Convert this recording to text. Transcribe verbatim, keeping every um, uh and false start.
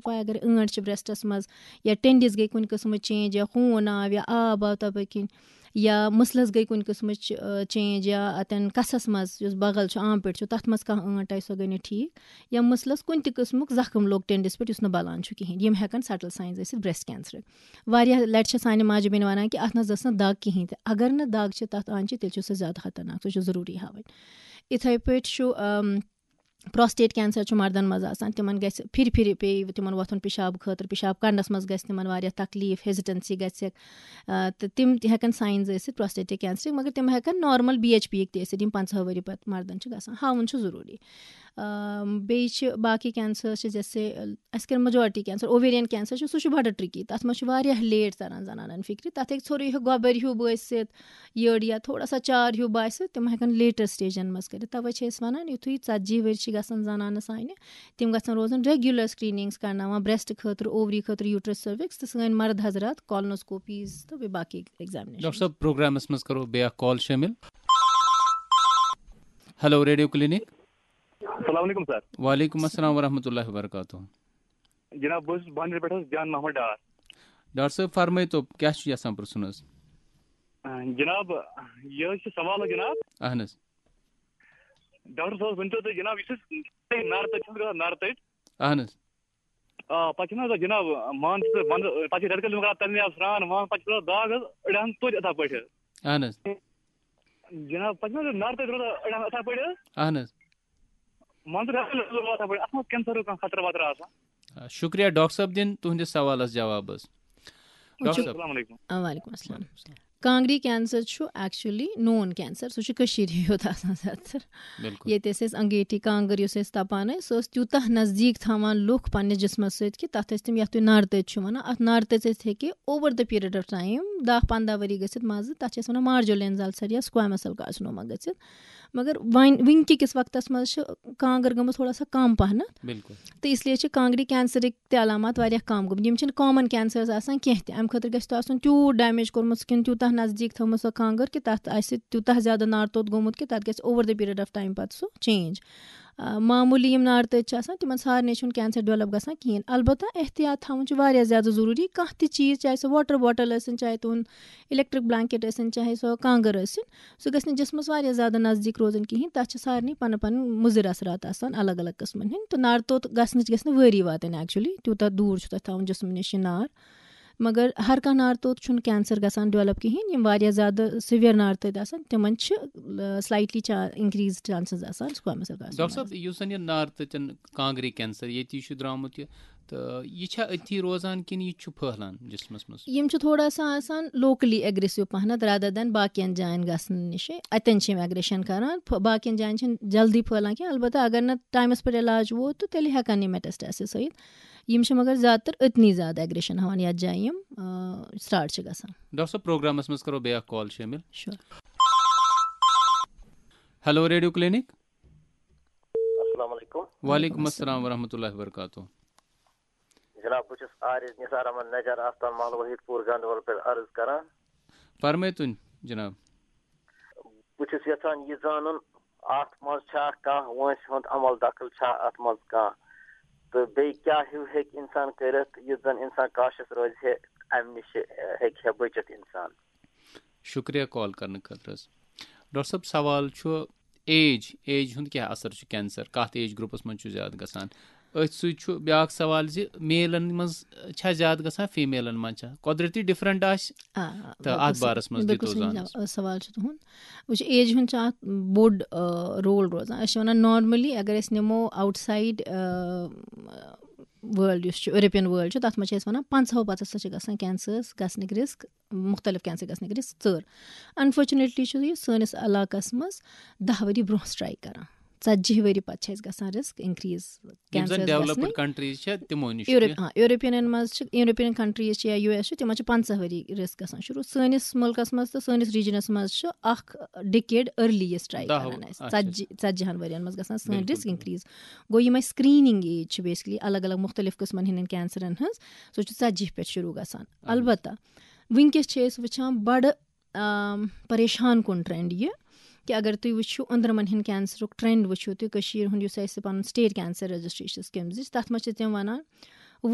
پاے، اگر ٲنٹ چھِ برٛیسٹَس منٛز یا ٹیٚنڈِس گٔے کُنہِ قٕسمٕچ چینج یا خوٗن آو یا آب آو تَپٲرۍ کِنۍ یا مٕسلَس گٔے کُنہِ قٕسمٕچ، آ، چینج یا اَتٮ۪ن کَسَس منٛز یُس بغل چھُ، آم پِٹ چھُ، تَتھ منٛز کانٛہہ ٲنٹ آیہِ، سۄ گٔے نہٕ ٹھیٖک، یا مٕسلَس کُنہِ تہِ قٕسمُک زخم لوٚگ ٹیٚنڈِس پٮ۪ٹھ یُس نہٕ بَلان چھُ کِہیٖنۍ، یِم ہٮ۪کَن subtle signs ٲسِتھ برٛیسٹ کینسرٕکۍ۔ واریاہ لَٹہِ چھِ سانہِ ماجہِ بیٚنہِ وَنان کہِ اَتھ نہ حظ ٲس نہٕ دَگ کِہیٖنۍ تہِ، اگر نہٕ دَگ چھِ تَتھ آنچہِ، تیٚلہِ چھُ سُہ زیادٕ خطرناک، سُہ چھُ ضروٗری ہاوٕنۍ۔ یِتھَے پٲٹھۍ چھُ، ام، prostate cancer چھُ مردَن منٛز آسان، تِمَن گژھِ پھِرِ پھِرِ پیٚیہِ تِمَن وۄتھُن پِشاب خٲطرٕ، پِشاب کَڑنَس منٛز گژھِ تِمَن واریاہ تکلیٖف، hesitancy گژھِ، آ، تہٕ تِم تہِ ہٮ۪کَن signs ٲسِتھ prostate cancerٕکۍ، مگر تِم ہٮ۪کَن normal B H Pیِکۍ تہِ ٲسِتھ، یِم پنٛژاہ ؤری پَتہٕ مردَن چھِ گژھان، ہاوُن چھُ ضروٗری۔ آ، بیٚیہِ چھِ باقٕے cancers چھِ، جیسے، اَسہِ کَرِ majority cancer، ovarian cancer چھُ، سُہ چھُ بَڑٕ tricky، تَتھ منٛز چھُ واریاہ late تَران زَنانَن فِکرِ، تَتھ ہیٚکہِ ژھوٚرُے ہیوٗ گۄبَر ہیوٗ بٲسِتھ، یٔڑ یا تھوڑا سا چار ہیوٗ باسہِ، تِم ہٮ۪کَن later stageَن منٛز کٔرِتھ۔ تَوَے چھِ أسۍ وَنان، یُتھُے ژَتجی ؤرۍ چھِ گژھان زَنانَس سانہِ، تِم گژھَن روزُن regular screenings کَرناوان، breast خٲطرٕ، ovary خٲطرٕ، uterus، cervix، تہٕ سٲنۍ مرد حضرات colonoscopies تہٕ بیٚیہِ باقٕے examination۔ ڈاکٹر صٲب، پروگرامَس منٛز کَرو بیٛاکھ call شٲمِل۔ Hello Radio Clinic۔ السلام علیکم سر۔ وعلیکم السلام ورحمۃ اللہ وبرکاتہ۔ جناب، بہٕ حظ چھُس بانڈی پٮ۪ٹھ حظ جان محمد ڈار۔ ڈاکٹر صٲب، فرمٲیتو، کیٛاہ چھُ یژھان پرٛژھُن حظ؟ آ، جناب، یہِ حظ چھُ سوال حظ جناب۔ اہن حظ۔ ڈاکٹر صٲب، ؤنۍ تو تُہۍ جناب، یُس أسۍ نارٕ تٔتۍ چھِ گژھان، نارٕ تٔتۍ۔ اہن حظ۔ آ، پتہٕ چھِنہٕ حظ جناب، مان ژٕ، ونٛدٕ، پتہٕ چھِ رٮ۪تہٕ کٲلِس منٛز کران تَمہِ آیہِ سرٛان وان، پتہٕ چھِ روزان داغ حظ أڑہَن توتہِ یِتھَے پٲٹھۍ حظ۔ اہن حظ۔ جناب، پتہٕ چھِنہٕ حظ نارٕ تٔتۍ روزان أڑہَن یِتھَے پٲٹھۍ حظ؟ اہن حظ۔ مان ژٕ رٮ۪تہٕ کٲلِس منٛز روزان یِتھَے پٲٹھۍ، اَتھ منٛز کینسرُک کانٛہہ خطرٕ وطرٕ آسان؟ آ، شُکریہ ڈاکٹر صٲب، دِن تُہٕنٛدِس سوالَس جواب حظ۔ ڈاکٹر صٲب۔ السلام علیکم۔ آ، وعلیکم السلام۔ کانٛگرِ cancer چھُ actually known cancer، سُہ چھُ کٔشیٖرِ یوت آسان زیادٕ تر۔ بِلکُل۔ ییٚتہِ ٲسۍ أسۍ انگیٹھی کانٛگٕر یُس أسۍ تَپان ٲسۍ، سُہ ٲس تیوٗتاہ نزدیٖک تھاوان لُکھ پننِس جسمس سۭتۍ کہِ تَتھ ٲسۍ تِم، یَتھ تُہۍ نارٕ تٔژ چھِو وَنان، اَتھ نارٕ تٔژ ٲسۍ ہیٚکہِ over the period of time، دَہ پنٛداہ ؤری گٔژھِتھ منٛزٕ، تَتھ چھِ أسۍ وَنان marginal cell یا squamous cell carcinoma گٔژھِتھ۔ مگر وۄنۍ وٕنکہِ کِس وقتس منٛز چھِ کانٛگٕر گٔمٕژ تھوڑا سا کم پہنتھ۔ بِلکُل۔ تہٕ اس لیے چھِ کانٛگرِ cancerٕکۍ تہِ علامات واریاہ کم گٔمٕتۍ۔ یِم چھِنہٕ common cancers آسان کینٛہہ تہِ۔ اَمہِ خٲطرٕ گژھِ تۄہہِ آسُن تیوٗت damage کوٚرمُت، سُہ کِنہٕ تیوٗتاہ نزدیٖک تھٲومٕژ سۄ کانٛگٕر کہِ تَتھ آسہِ تیوٗتاہ زیادٕ نارٕ توٚت گوٚمُت کہِ تَتھ گژھِ over the period of time پَتہٕ سُہ change۔ آ، معموٗلی یِم نارٕ تٔتۍ چھِ آسان، تِمَن سارنٕے چھُنہٕ cancer develop گژھان کِہیٖنۍ۔ البتہ احتیاط تھاوُن چھُ واریاہ زیادٕ ضروٗری۔ کانٛہہ تہِ چیٖز، چاہے سُہ water bottle ٲسِن، چاہے تُہُنٛد electric blanket ٲسِن، چاہے سۄ کانٛگٕر ٲسِن، سُہ گژھِ نہٕ جسمَس واریاہ زیادٕ نزدیٖک روزُن کِہیٖنۍ۔ تَتھ چھِ سارنٕے پَنٕنۍ پَنٕنۍ مُضِر اثرات آسان الگ الگ قٕسمَن ہٕنٛدۍ۔ تہٕ نارٕ توٚت گژھنٕچ گژھِ نہٕ وٲری واتٕنۍ actually، تیوٗتاہ دوٗر چھُ تۄہہِ تھاوُن جسمہٕ نِش یہِ نار۔ مگر ہر کانٛہہ نارٕ توٚت چھُنہٕ cancer گژھان develop کِہیٖنۍ۔ یِم واریاہ زیادٕ severe نارٕ تٔتۍ آسان، تِمَن چھِ، آ، slightly چا-، increased chances آسان squamous cell carcinoma۔ ڈاکٹر صٲب، یُس زَن یہِ نارٕ تٔتٮ۪ن کانٛگرِ cancer ییٚتی چھُ درٛامُت یہِ، تہٕ یہِ چھا أتھی روزان کِنہٕ یہِ چھُ پھٔہلان جسمس منٛز؟ یِم چھِ تھوڑا سا آسان locally aggressive پہنتھ rather than باقین جاین گژھنہٕ نِش۔ اتٮ۪ن چھِ یِم aggression کران، پھ-، باقین جاین چھِنہٕ جلدی پھٔہلان کینٛہہ۔ البتہ اگر نہٕ ٹایمس پٮ۪ٹھ علاج ووت، تہٕ تیٚلہِ ہٮ۪کن یِم metastasis ٲسِتھ۔ یِم چھِ مگر زیادٕ تر أتنی زیادٕ aggression ہاوان، یتھ جایہِ یِم، آ، start چھِ گژھان۔ ڈاکٹر صٲب، پروگرامس منٛز کرو بیاکھ call شٲمِل۔ Sure۔ Hello Radio Clinic۔ السلام علیکم۔ وعلیکم السلام ورحمۃ اللہ وبرکاتہ۔ جناب، بہٕ چھُس عارض نثار احمد نجار آستان محلہٕ وحید پوٗر گنڈوال پٮ۪ٹھ عرض کران۔ فرمٲیتو جناب۔ بہٕ چھُس یژھان یہِ زانُن، اتھ منٛز چھا کانٛہہ وٲنٛسہِ ہُنٛد عمل دخل چھا اتھ منٛز کانٛہہ؟ تہٕ بیٚیہِ کیٛاہ ہیوٗ ہیٚکہِ انسان کٔرِتھ یُتھ زن انسان cautious روزِ ہے، امہِ نِش ہیٚکہِ ہے بٔچِتھ انسان؟ شُکریہ call کرنہٕ خٲطرٕ حظ۔ ڈاکٹر صٲب، سوال چھُ age، age ہُنٛد کیٛاہ اثر چھُ cancer، کتھ age groupس منٛز چھُ زیادٕ گژھان؟ أتھۍ سۭتۍ چھُ بیٛاکھ سوال زِ maleن منٛز چھا زیادٕ گژھان، femaleن منٛز چھا؟ قۄدرتی different آسہِ۔ آ، آ، تہٕ بِلکُل اَتھ صحیح۔ بارَس منٛز بِلکُل دِتو صحیح زانَس۔ جواب، سوال چھُ تُہُنٛد۔ وٕچھ، age ہُنٛد چھُ اَتھ بوٚڑ، آ، role روزان۔ أسۍ چھِ وَنان normally اگر أسۍ نِمو outside، آ، world یُس چھُ، European world چھُ، تَتھ منٛز چھِ أسۍ وَنان پنٛژاہو پَتہٕ ہسا چھِ گژھان cancers گژھنٕکۍ risk، مُختلِف cancer گژھنٕکۍ risk ژٔر۔ Unfortunately چھُ یہِ سٲنِس علاقَس منٛز دَہ ؤری برٛونٛہہ strike کران۔ ژتجی ؤری پتہٕ چھِ اَسہِ گژھان risk increase یِم زَن cancer developed گژھنٕکۍ۔ Countries چھےٚ، تِمو نِش Europe، تہِ۔ ہاں، Europeanن منٛز چھِ، European countries چھِ یا U S چھُ، تِمن چھِ پنٛژاہ ؤری risk گژھان شروٗع۔ سٲنِس مُلکس منٛز تہٕ سٲنِس regionس منٛز چھُ اکھ decade early یہِ strike دَہ کران اَسہِ۔ اچھا۔ ژتجی، ژتجی ہن ؤرین منٛز گژھان سٲنۍ بِلکُل، risk بِلکُل۔ Increase۔ گوٚو یِم اَسہِ screening age چھِ basically الگ الگ مُختٔلِف قٕسمن ہٕنٛدٮ۪ن cancerن ہٕنٛز، سۄ چھِ ژتجی پٮ۪ٹھ شروٗع گژھان۔ اہن حظ۔ البتہ وٕنکیٚس چھِ أسۍ وٕچھان بڑٕ آم، پریشان کُن trend یہِ کہِ اگر تُہۍ وٕچھِو أنٛدرمن ہٕنٛدۍ cancerُک trend وٕچھِو تُہۍ، کٔشیٖرِ ہُنٛد یُس اَسہِ پنُن state cancer registry چھِ scheme دِژ، تَتھ منٛز چھِ تِم وَنان